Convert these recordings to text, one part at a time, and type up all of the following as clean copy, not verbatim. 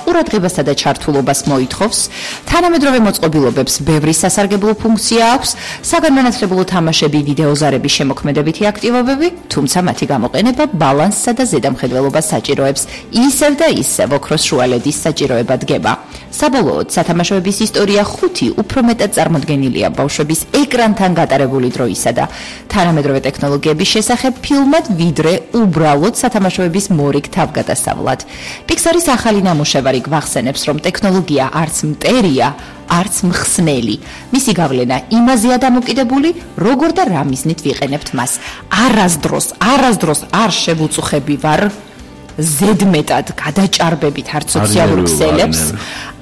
ყურადღებასა და ჩართულობას მოითხოვს, თანამედროვე მოწყობილობებს ბევრი სასარგებლო ფუნქცია აქვს, საგანმანათლებლო თამაშები, ვიდეოზარების შემოქმედებითი აქტივობები, თუმცა მათი გამოყენება ბალანსსა და ზედამხედველობას საჭიროებს, ისევ და ისევ ოქროს შუალედის საჭიროება დგება. საბოლოოდ, სათამაშოების ისტორია 5 უფრო მეტად წარმოდგენილია ბავშვების ეკრანთან გატარებული დროისა და თანამედროვე ტექნოლოგიების შესახებ ფილმად, ვიდრე უბრალოდ სათამაშოების მორიგ თავგადასავლად. Pixar-ის ახალი ნამუშევარი გვახსენებს, რომ ტექნოლოგია არც მტერია, არც მხსნელი. მისი გავლენა იმაზეა დამოკიდებული, როგორ და რა მიზნით ვიყენებთ მას. არასდროს არ შევუწუხები ვარ ზედმეტად გადაჭარბებით არც სოციალურ ქსელებს,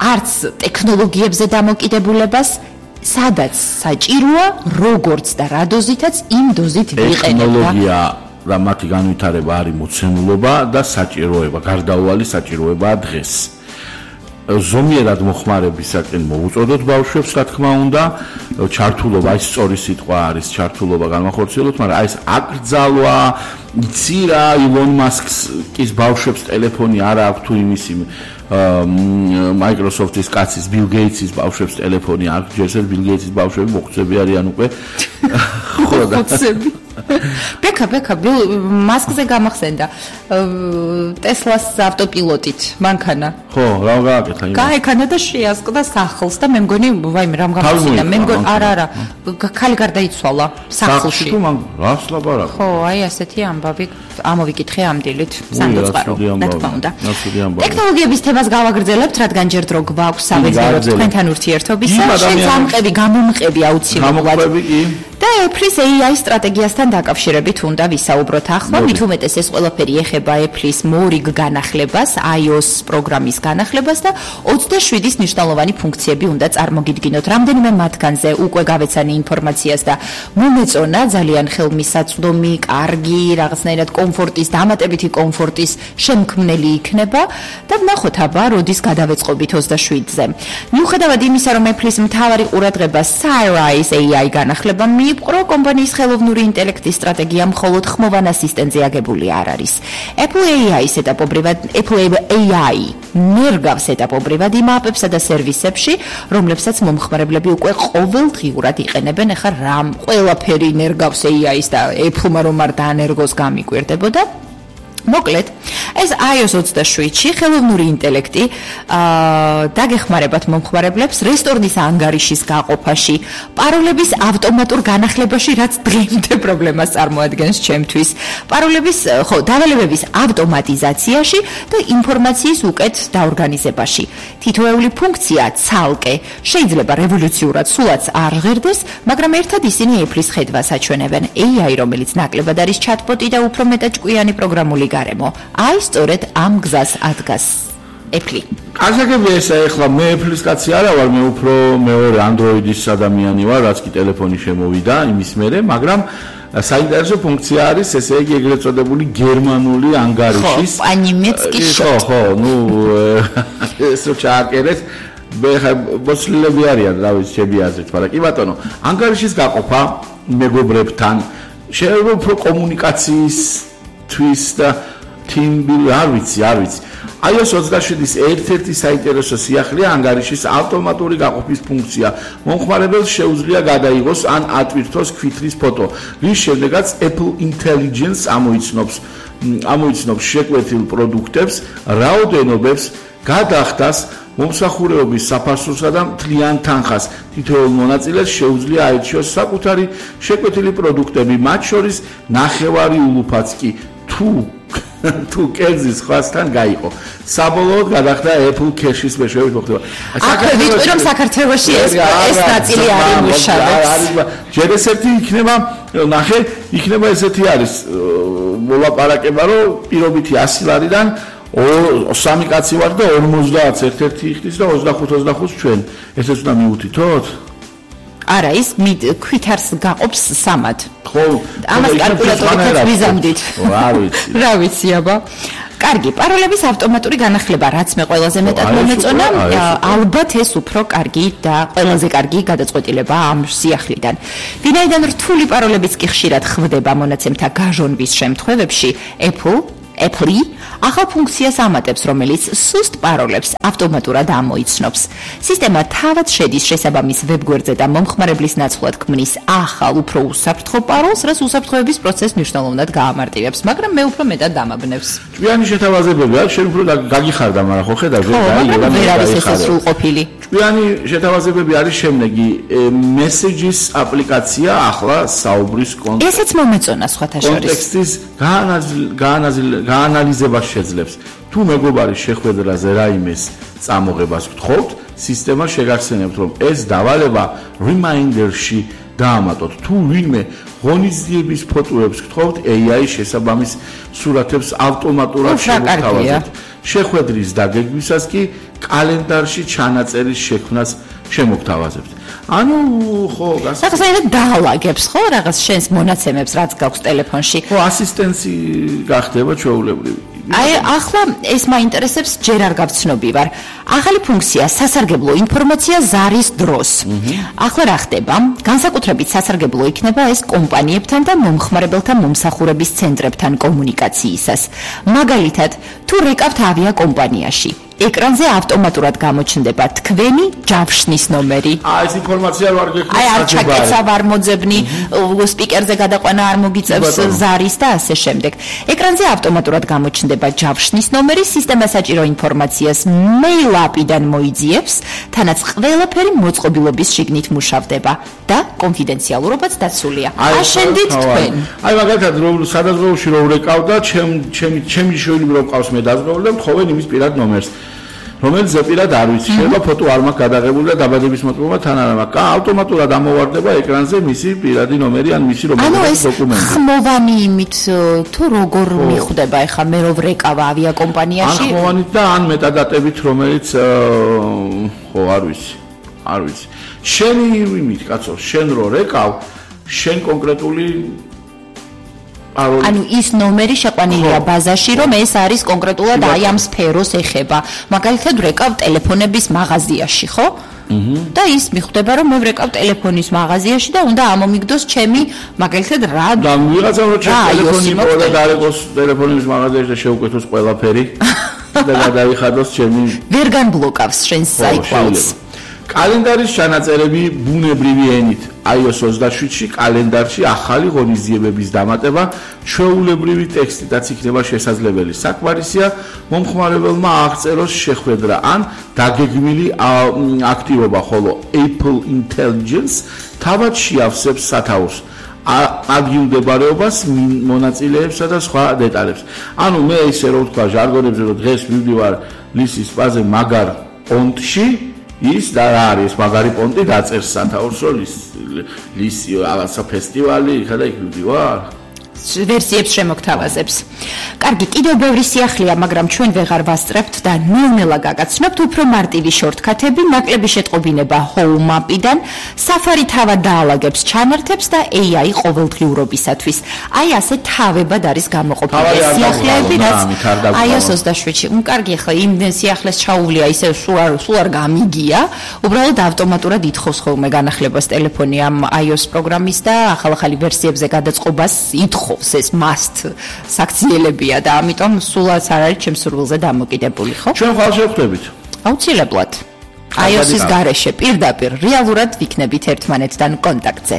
არც ტექნოლოგიებზე დამოკიდებულებას, სადაც საჭიროა, როგორც და რა დოზითაც იმ დოზით ვიყენებ. და მათი განვითარება არის მოცემულობა და საჭიროება, გარდაუვალი საჭიროებაა დღეს. ზომიერად მოხმარებისაკენ მოუწოდოთ ბავშვებს, რა თქმა უნდა, ჩართულობა, ეს სწორი სიტყვა არის, ჩართულობა განმახორციელოთ, მაგრამ აი ეს აკრძალვა, იცი რა, ილონ მასკის ბავშვებს ტელეფონი არ აქვს თუ იმისი Microsoft-ის კაცის, Bill Gates-ის ბავშვებს ტელეფონი აქვს, ჯერ Bill Gates-ის ბავშვები მოხუცები არიან უკვე. ხო და ბექა მასკზე გამახსენდა ტესლას ავტოპილოტით მანქანა ხო რა გააკეთა იმას გაეკანა და შეასკდა სახლს და მე მგონი ვაიმე რამ გამახსენდა მე მგონი არა ქალი გარდაიცვალა სახლში თუ მან რას ლაპარაკობ ხო აი ასეთი ამბავი ამოვიკითხე ამ დილით სანდოწყარო რა თქმა უნდა ტექნოლოგიების თემას გავაგრძელებთ რადგან ჯერ დრო გვაქვს სამეცნიერო თქვენთან ურთიერთობისა შეცამყები გამომყები აუცილებლად და Apple-ის AI სტრატეგიასთან დაკავშირებით უნდა ვისაუბროთ ახლა, მით უმეტეს ეს ყველაფერი ეხება Apple-ის მორიგ განახლებას, iOS პროგრამის განახლებას და 27-ის მნიშვნელოვანი ფუნქციები უნდა წარმოგიდგინოთ. რამდენიმე მათგანზე უკვე გავეცანი ინფორმაციას და მომეწონა ძალიან ხელმისაწვდომი, კარგი, რაღაცნაირად კომფორტის, დამატებითი კომფორტის შემქმნელი იქნება და ვნახოთ აბა, როდის გადავეწყობით 27-ზე. მიუხედავად იმისა, რომ Apple-ის მთავარი ყურადღება Siri-ის AI განახლება მიიპყრო, კომპანიის ხელოვნური ინტელექტის სტრატეგია მხოლოდ ხმოვან ასისტენტზე აგებული არ არის. Apple AI ნერგავს ეტაპობრივად იმ აპებსა და სერვისებში, რომლებსაც მომხმარებლები უკვე ყოველდღიურად იყენებენ. ახლა რამ ყველაფერი ნერგავს AI-ს და Apple-მა რომ არ დაანერგოს გამიკვირდებოდა. მოკლედ, ეს iOS 27-ში ხელოვნური ინტელექტი დაგეხმარებათ მომხმარებლებს რესტორნის ანგარიშის გაყოფაში, პაროლების ავტომატურ განახლებაში, რაც დღემდე პრობლემას წარმოადგენს ჩემთვის, დავალებების ავტომატიზაციაში და ინფორმაციის უკეთ დაორგანიზებაში. თითოეული ფუნქცია ცალკე შეიძლება რევოლუციურად სულაც არ ჟღერდეს, მაგრამ ერთად ისინი Apple-ის ხედვას აჩვენებენ. AI, რომელიც ნაკლებად არის ჩატბოტი და უფრო მეტად ჭკვიანი პროგრამული გარემო. აი სწორედ ამ გზას ადგას Apple. ასაკებია ესა ეხლა მე Apple-ის კაცი არა ვარ, მე უფრო მეორე Android-ის ადამიანი ვარ, რაც კი ტელეფონი შემოვიდა იმის მერე, მაგრამ საინტერესო ფუნქცია არის ესე იგი ეგრეთ წოდებული გერმანული ანგარიშის. ხო, по-немецки. ხო, ესო ჩააკერეს. ბოსლები არიან, რა ვიცი, ჩემი აზრით, მაგრამ კი ბატონო, ანგარიშის გაყოფა მეგობრებთან, შეიძლება უფრო კომუნიკაციის თვის და team-building არ ვიცი. iOS 27-ის ერთ-ერთი საინტერესო სიახლეა ანგარიშის ავტომატური გაყოფის ფუნქცია. მომხმარებელს შეუძლია გადაიღოს ან ატვირთოს ქვითრის ფოტო, რის შემდეგაც Apple Intelligence ამოიცნობს შეკვეთილ პროდუქტებს, რაოდენობებს, გადახდას, მომსახურებების საფასურსა და მთლიან თანხას. თითოეულ მონაწილეს შეუძლია აირჩიოს საკუთარი შეკვეთილი პროდუქტები, მათ შორის ნახევარი ულუფაც კი თუ კერძის ხვასთან გაიყო. საბოლოოდ გადახდა Apple Cash-ის მეშვეობით მოხდება. ვიტყვი რომ საქართველოში ეს ნაწილი არ იმუშავებს. ჯერ ესეთი იქნება ესეთი არის მოლაპარაკება, რომ პირობითი 100 ლარიდან 3 კაცი ვარ და 50 ერთ-ერთი იხდის და 25 ჩვენ. ესეც უნდა მიუთითოთ? არა, ის ქვითარს გაყოფს სამად. ხო, ამას კალკულატორით ვიზამდით. რა ვიცი აბა. კარგი, პაროლების ავტომატური განახლება, რაც მე ყველაზე მეტად მომეწონა, ალბათ ეს უფრო კარგი და ყველაზე კარგი გადაწყვეტილება ამ სიახლიდან. ვინაიდან რთული პაროლებიც კი ხშირად ხვდება მონაცემთა გაჟონვის შემთხვევებში, Apple Apple ახალ ფუნქციას ამატებს, რომელიც სუსტ პაროლებს ავტომატურად ამოიცნობს. სისტემა თავად შედის შესაბამის ვებგვერდზე და მომხმარებლის ნაცვლად ქმნის ახალ, უფრო უსაფრთხო პაროლს, რაც უსაფრთხოების პროცესს მნიშვნელოვნად გაამარტივებს, მაგრამ მე უფრო მეტად დამაბნევს. ჭკვიანი შეთავაზებები არის, შენ უფრო გაგიხარდა, მაგრამ ხო ხედავ, ვერ არის ესე სრულყოფილი. ჭკვიანი შეთავაზებები არის შემდეგი, Messages აპლიკაცია ახლა საუბრის ესეც მომეწონა სხვათა შორის. კონტექსტის გაანალიზებას შეძლებს. თუ მეგობარის შეხვედრაზე რაიმეს წამოღებას გთხოვთ, სისტემა შეგახსენებთ, რომ ეს დავალება reminder-ში დაამატოთ. თუ ვინმე ღონისძიების ფოტოებს გთხოვთ, AI შესაბამის სურათებს ავტომატურად შემოგთავაზებთ. შეხვედრის დაგეგმვისას კი კალენდარში ჩანაწერის შექმნას შემოგთავაზებთ. ანუ ხო, გასაგებია დაალაგებს ხო რაღაც შენს მონაცემებს, რაც გაქვს ტელეფონში. ხო, ასისტენცი გახდება ჩვეულებრივი. აი, ახლა ეს მაინტერესებს, ჯერ არ გავცნობი ვარ. ახალი ფუნქცია სასარგებლო ინფორმაცია ზარის დროს. ახლა რა ხდება? განსაკუთრებით სასარგებლო იქნება ეს კომპანიებთან და მომხმარებელთა მომსახურების ცენტრებთან კომუნიკაციისას. მაგალითად, თუ რეკავთ ავიაკომპანიაში, ეკრანზე ავტომატურად გამოჩნდება თქვენი ჯავშნის ნომერი. ეს ინფორმაცია არ გექნება. აი, არ ჩაკეცა ვარ მოძებნი, სპიკერზე გადაყვანა არ მოგიწევს ზარის და ასე შემდეგ. ეკრანზე ავტომატურად გამოჩნდება ჯავშნის ნომერი, სისტემა საჭირო ინფორმაციას მეილაპიდან მოიძიებს, თანაც ყველაფერი მოწყობილობის შიგნით მუშავდება და კონფიდენციალურობაც დაცულია. აშენდით თქვენ. აი, მაგალითად, სადაზღვეულში რო ვრეკავდა, ჩემი შვილი რო ყავს მე დაზღვეული და მთხოვენ იმის პირად ნომერს. რომელიც ზეპირად არ ვიცი, შეიძლება ფოტო არ მაქვს გადაღებული და დაბადების მოწმობა თან არ მაქვს. ავტომატურად ამოვარდება ეკრანზე მისი პირადი ნომერი ან მისი რომელიც დოკუმენტი. ხმოვანი იმით თუ როგორ მიხვდება ეხა მე რო ვრეკავა ავიაკომპანიაში? ან ხმოვანით და ან მეტადატებით, რომელიც ხო არ ვიცი. შენი იმით, კაცო, შენ რო რეკავ, შენ კონკრეტული ანუ ის ნომერი შეყვანილია ბაზაში, რომ ეს არის კონკრეტულად აი ამ სფეროს ეხება. მაგალითად, ვრეკავ ტელეფონების მაღაზიაში, ხო? და ის მიხვდება, რომ მე ვრეკავ ტელეფონის მაღაზიაში და უნდა ამომიგდოს ჩემი მაგალითად რა და ვიღაცამ რო ტელეფონი მოვიდა და არეკოს ტელეფონის მაღაზიაში და შეუკეთოს ყველაფერი და გადავიხადოს ჩემი ვერ განბლოკავს შენს iCloud-ს. კალენდარის ჩანაწერები ბუნებრივი ენით. iOS 27-ში კალენდარში ახალი ღონისძიებების დამატება ჩვეულებრივი ტექსტითაც იქნება შესაძლებელი. საკმარისია მომხმარებელმა აღწეროს შეხვედრა ან დაგეგმილი აქტივობა, ხოლო Apple Intelligence თავად შეავსებს სათაურს აგიუმდებარეობას, მონაწილეებსა და სხვა დეტალებს. ანუ მე ისე რომ ვთქვა ჟარგონებზე, რომ დღეს ვივდივარ ლისის პაზე მაგარ პონტში ის და რა არის მაგარი პონტი დაწერს სათაურს რომ ლისი რაღაცა ფესტივალი იქა და იქ ვიდივარ ვერსიებს შემოგთავაზებს. კარგი, კიდევ ბევრი სიახლეა, მაგრამ ჩვენ ვეღარ ვასწრებთ და ნელ-ნელა გაგაცნობთ უფრო მარტივი შორტკათები, ნაკლები შეტყობინება Home App-დან, Safari თავად დაალაგებს ჩანართებს და AI ყოველდღიურობისათვის. აი ასე თავებად არის გამოყოფილი სიახლეები, რაც iOS 27-ში. კარგი, ახლა იმ სიახლეს ჩაუვლია ისე სულ არ გამიგია, უბრალოდ ავტომატურად ითხოვს ხოლმე განახლებას ტელეფონი ამ iOS პროგრამის და ახალ-ახალი ვერსიებზე გადაწყობას ითხოვს. ეს must საქციელებია და ამიტომ სულაც არ არის ჩემს სურვილზე დამოკიდებული, ხო? ჩვენ ხვალ შევხვდებით. აუცილებლად. iOS-ის გარეშე პირდაპირ რეალურად ვიქნებით ერთმანეთთან კონტაქტზე.